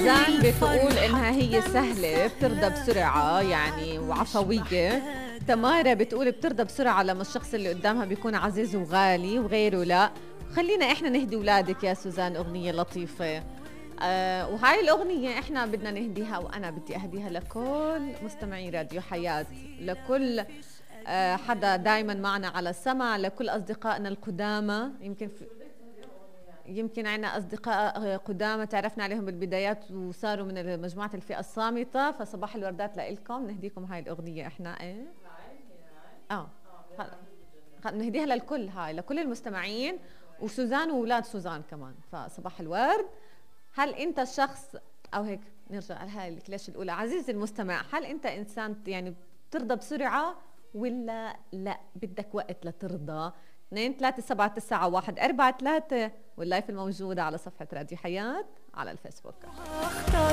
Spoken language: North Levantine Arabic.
سوزان بتقول إنها هي سهلة بترضى بسرعة يعني وعفوية. تمارا بتقول بترضى بسرعة لما الشخص اللي قدامها بيكون عزيز وغالي وغيره لا. خلينا إحنا نهدي ولادك يا سوزان أغنية لطيفة. وهاي الأغنية إحنا بدنا نهديها، وأنا بدي أهديها لكل مستمعي راديو حياة، لكل حدا دايما معنا على السمع، لكل أصدقائنا القدامى. يمكن عنا أصدقاء قدامى تعرفنا عليهم بالبدايات وصاروا من مجموعة الفئة الصامتة، فصباح الوردات لإلكم. نهديكم هاي الأغنية إحنا نهديها للكل، هاي لكل المستمعين وسوزان وولاد سوزان كمان. فصباح الورد. هل أنت الشخص أو هيك نرجع على هاي الكلاش الأولى، عزيزي المستمع، هل أنت إنسان يعني بترضى بسرعة ولا لا بدك وقت لترضى؟ 2-3-7-9-1-4-3 واللايف الموجودة على صفحة راديو حياة على الفيسبوك.